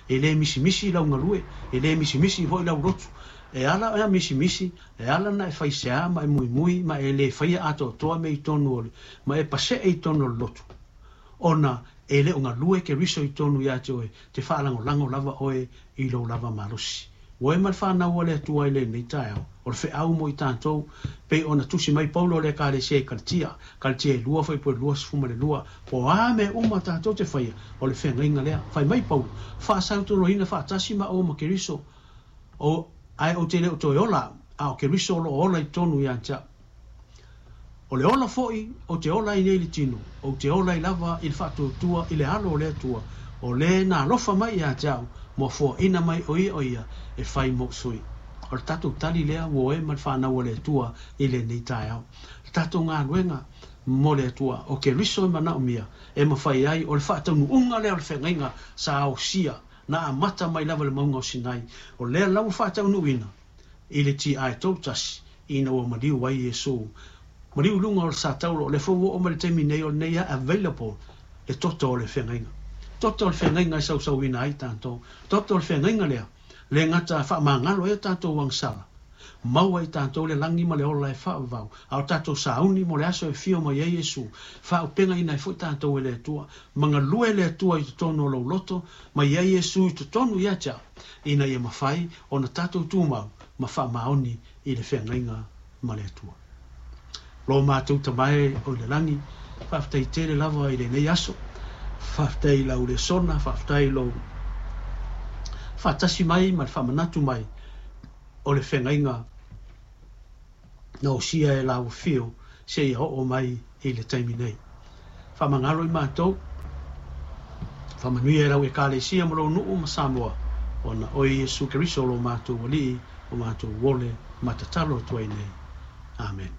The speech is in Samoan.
E le misimisi lau galue, e le misimisi foi lau lotu. E ala ona misimisi, e ala ona e faisea ma e muimui ma e le faia atoatoa mea i totonu o le, ma e pasee i totonu o le lotu, ona e le o galue Keriso i totonu ia te oe, te faalagolago lava oe i lou lava malosi. Ua e ma le fanau a le Atua i lenei taeao, o le feau mo i tatou, pei ona tusi mai Paulo o le Ekalesia i Kalatia, Kalatia e 2 fuaipule 22, po o a mea uma tatou te faia, o le feagaiga lea. Fai mai Paulo, Faasautoloina faatasi maua ma Keriso, o, ae ou te le o toe ola au, a o Keriso o lo o ola i totonu ia te au. O le ola foi ou te ola ai nei i le tino, ou te ola ai lava i le faatuatua i le Alo o le Atua, o le na alofa mai ia te au, ma foaina mai o ia o ia e fai mou sui. O le tatou tali lea ua oe ma le fanau a le Atua i lenei taeao. Le tatou galuega mo le Atua, o Keriso e manaomia e mafai ai, o le faataunuuga lea o le feagaiga sa osia, na amata mai lava i le mauga o Sinai, o lea la ua faataunuuina i le TI31 ina ua maliu ai Iesu. Maliu i luga o le sa taulo, o lea foi ua oo mai le taimi nei o lenei a available le toto o le feagaiga. Toto o le feagaiga e sausauina ai tatou. Toto o le feagaiga lea, le gata faamagalo ai o tatou agasala, maua i tatou le lagi ma le ola e faavavau, a o tatou sauni mo le aso e fio mai ai Iesu, faaaupegaina ai foi tatou e le Atua. Ma galue le Atua i totonu o lou loto, ma i ai Iesu i totonu ia te au, ina ia mafai ona tatou tumau ma faamaoni i le feagaiga ma le Atua. Lo matou Tama e o i le lagi, faafetai tele lava i lenei aso. Faafetai i lau lesona, faafetai i lou faatasi mai ma le faamanatu mai o le feagaiga na osia e lau afio seia oo mai i le taimi nei. Faamagalo i matou, faamanuia i lau Ekalesia ma lou nuu ma Samoa, ona oe Iesu Keriso lo matou Alii, o matou ole ma tatalo atu ai nei. Amen.